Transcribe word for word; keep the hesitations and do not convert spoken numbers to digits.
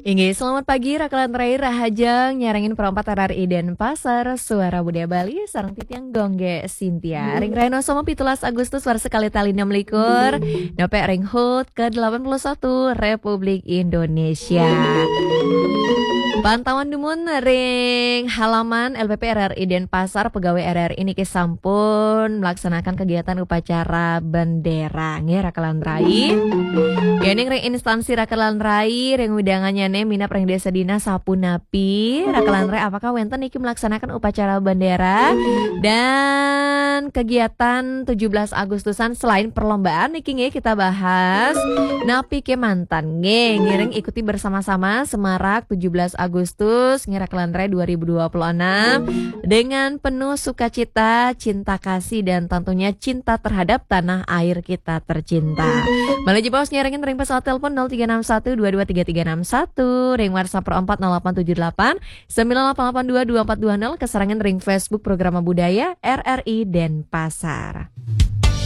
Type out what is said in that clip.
Inggih, selamat pagi, Raka lan Rai, rahajeng nyarengin perempat R R I Denpasar, Suara Budaya Bali, sareng titiang Gongge Sintia. Ring rahina Selasa pitulas Agustus warsa kalih tali enam likur, nepek ring hut ke delapan puluh satu Republik Indonesia. Pantauan dumun ring halaman L P P R R I Denpasar, pegawai R R I niki sampun melaksanakan kegiatan upacara bendera. Nggih, Raka lan Rai. Yening ring instansi Raka lan Rai, ring widangannyane minab ring desa dinas sapunapi, Raka lan Rai, apakah wenten niki melaksanakan upacara bendera dan kegiatan tujuh belas Agustusan? Selain perlombaan niki nggih kita bahas, napi kemanten nggih ngiring ikuti bersama-sama semarak tujuh belas Agustus nggih Raka lan Rai dua ribu dua puluh enam dengan penuh sukacita, cinta kasih, dan tentunya cinta terhadap tanah air kita tercinta. Malih jebos nyarengin ring pesawat telepon nol tiga enam satu dua dua tiga tiga enam satu, ring WhatsApp pro empat nol delapan tujuh delapan sembilan delapan delapan dua dua empat dua nol, kasarengin ring Facebook Programa Budaya R R I Denpasar.